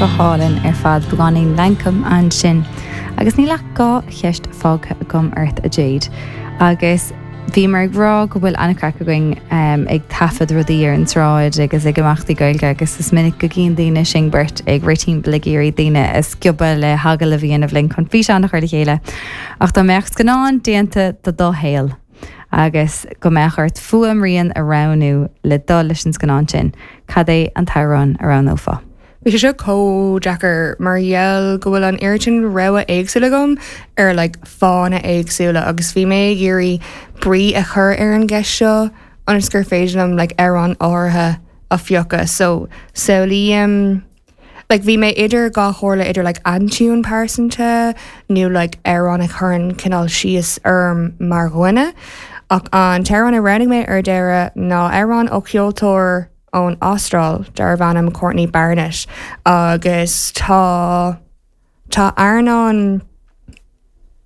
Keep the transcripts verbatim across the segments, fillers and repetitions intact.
Go hálainn ar fad beagáinín Lankum ansin. Agus níl ach dhá cheist fágtha agam ort a Jade. Agus bhí mar ag rá go bhfuil an-chraic againn um, ag taifead rudaí ar an tsráid agus ag imeachtaí Gaeilge agus is minic go gcíonn daoine sinn beirt ag rith timpeall ag iarraidh daoine a sciobadh le hagallamh a dhéanamh linn chun físeán a chur le chéile. Ach dá mbeadh scannán déanta de do shaol. agus go mbeadh ort fuaimrian a roghnú le dul leis an scannán sin, cad é an t-amhrán a roghnófá. Bhí sé seo chomh deacair mar gheall go bhfuil an oiread sin rogha éagsúla agam ar like, fáthanna éagsúla agus bhí mé ag iarraidh brí a chur ar an gceist seo ionas gur féidir liom like, amhrán áirithe a phiocadh so samhlaím like bhí mé idir dhá chomhairle idir like aintiún pearsanta nó like amhrán a chuireann cineál síos orm mar dhuine ach an t-amhrán a roghnaigh mé ar deireadh ná amhrán ó cheoltóir ón Astráil darbh ainm Courtney Barnett agus tá tá earnáil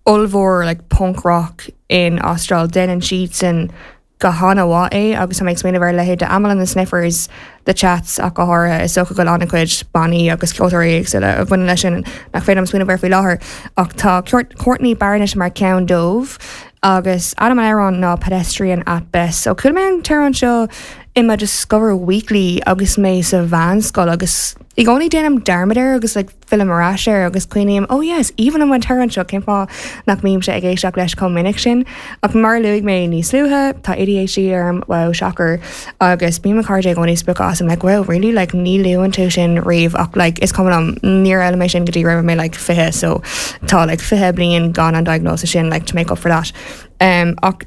ollmhór like punk rock in Astráil déanann siad go han-mhaith é agus tá mé ag smaoineamh ar leithéid de Amyl and the Sniffers the Chats ach go háirithe is dócha go bhfuil an-chuid bannaí agus ceoltóirí éagsúla a bhaineann leis sin nach féidir liom smaoineamh air faoi láthair ach tá Courtney Barnett mar ceann dóibh agus ainm an amhráin ná pedestrian at best. So chuala mé an t-amhrán seo i mo Discover Weekly agus mé sa mheánscoil agus i gcónaí déanaim dearmad air agus like, fillim ar ais air agus cuimhním oh yes, even an t-amhrán seo cén fáth nach mbímse ag éisteacht leis chomh minic sin ach mar luaigh mé níos luaithe tá ADHD orm wow shocker agus bíonn mo chairde i gcónaí spochta asam like well really like ní luann tú sin riamh ach like is cuma liom níor fhoghlaim mé sin go dtí raibh mé like fiche so tá like fiche bliain gan an diagnosis sin like to make up for that. Um, ach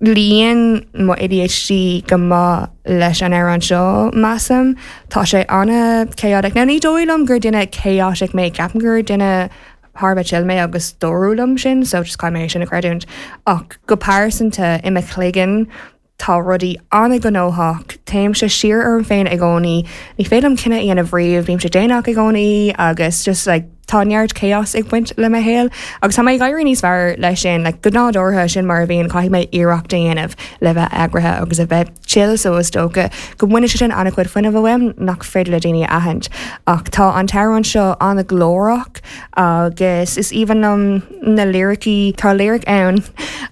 luíonn mo ADHD go maith leis an amhrán seo measaim Tá sé an-chaotic. Now ní dóigh liom gur duine chaotic mé ceapaim gur duine thar a bheith chill mé agus dúradh liom sin so just caithfidh mé sin a chreidiúint ach go pearsanta i mo chloigeann tá rudaí an-ghnóthach Téimse siar orm féin i gcónaí ní féidir liom cinneadh a dhéanamh riamh bímse déanach i gcónaí agus just like tá neart chaos ag baint le mo shaol agus tá mé ag éirí níos fearr leis sin like, go nádúrtha sin mar a bhíonn caithfidh mé iarracht a dhéanamh le bheith eagraithe agus a bheith chill so is dócha go mbaineann sé sin an-chuid fuinnimh uaim nach féidir le daoine a aithint. Ach tá an t-amhrán seo an-ghlórach agus is aoibhinn liom na liricí tá lyric ann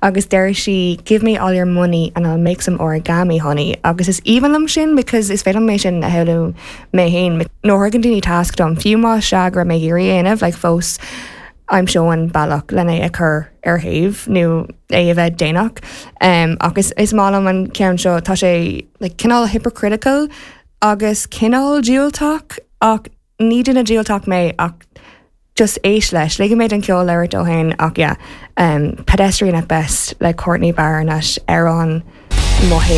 agus deir sí give me all your money and I'll make some origami honey agus is aoibhinn liom sin because is féidir mé sin a shamhlú mé féin nuair a thugann daoine tasc dom fiú má sea go mé ag iarraidh dhéanamh like fós aimseoinn bealach lena é a chur ar thaobh nó é a bheith déanach. Um, agus is maith liom an ceann seo tá sé like, cineál hypocritical agus cineál diúltach ach ní duine diúltach mé ach just éist leis, ligfidh mé an ceol labhairt dó féin ach yeah, um, pedestrian at best le Courtney Barnett ar an mo